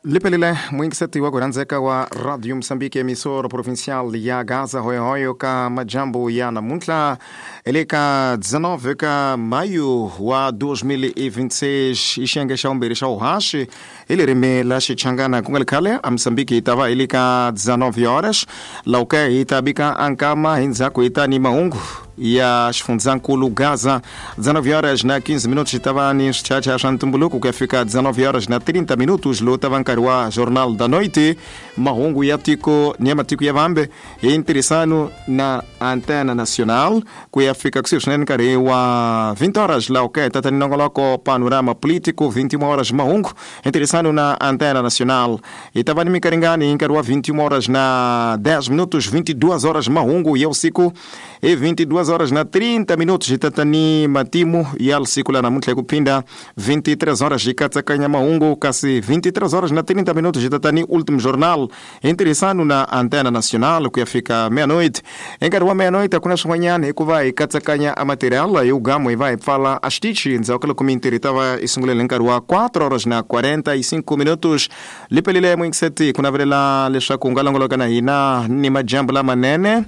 Lipelile mwingiseti wa kuranzeka wa Radio Msambiki, emissora provincial ya Gaza hoyohoyo ka majambo ya namuntlha eleka 19 ka maio wa 2026, ixenge xa vumbirhi xa uhaxi hi ririmi la Xichangana. Ku nga li khale a Msambiki hi ta va hi le ka 19 horas lauke hi ta bika ankama, hi ndzhaku hi ta ni mahungu ya xifundzankulu Gaza. 19 horas na 15 minutos hi ta va ni swichacha swa ntumbuluko ku ya fika 19 horas na 30 minutos, lowu ta va nkarhi wa Jornal da Noite, mahungu ya tiko ni ya matiko ya vambe hi ntirhisano na Antena Nacional, ku ya fika kusuhi swinene nkarhi wa 20 horas laha ku ya hi tata ni nongoloko Panorama Político. 21 horas mahungu hi ntirhisano na Antena Nacional. Hi ta va ni minkaringani hi nkarhi wa 21 horas na 10 minutos. 22 horas mahungu ya usiku. Hi 22 horas na 30 minutos hi tata ni matimu ya siku la namuntlha hi ku phinda. 23 horas hi katsakanya mahungu, kasi 23 horas na 30 minutos hi tata ni Último Jornal hi ntirhisano na Antena Nacional ku ya fika meia-noite. Hi nkarhi wa meia-noite a ku na swin'wanyana hikuva hi katsakanya a material hi ugamu, hi va hi pfala a xitichi ndzhaku ka loko mintirho yi ta va yi sungulele hi nkarhi wa 4 horas na 45 minutos. Lipelile muyingiseti, ku navelela leswaku u nga longoloka na hina ni majambu lamanene.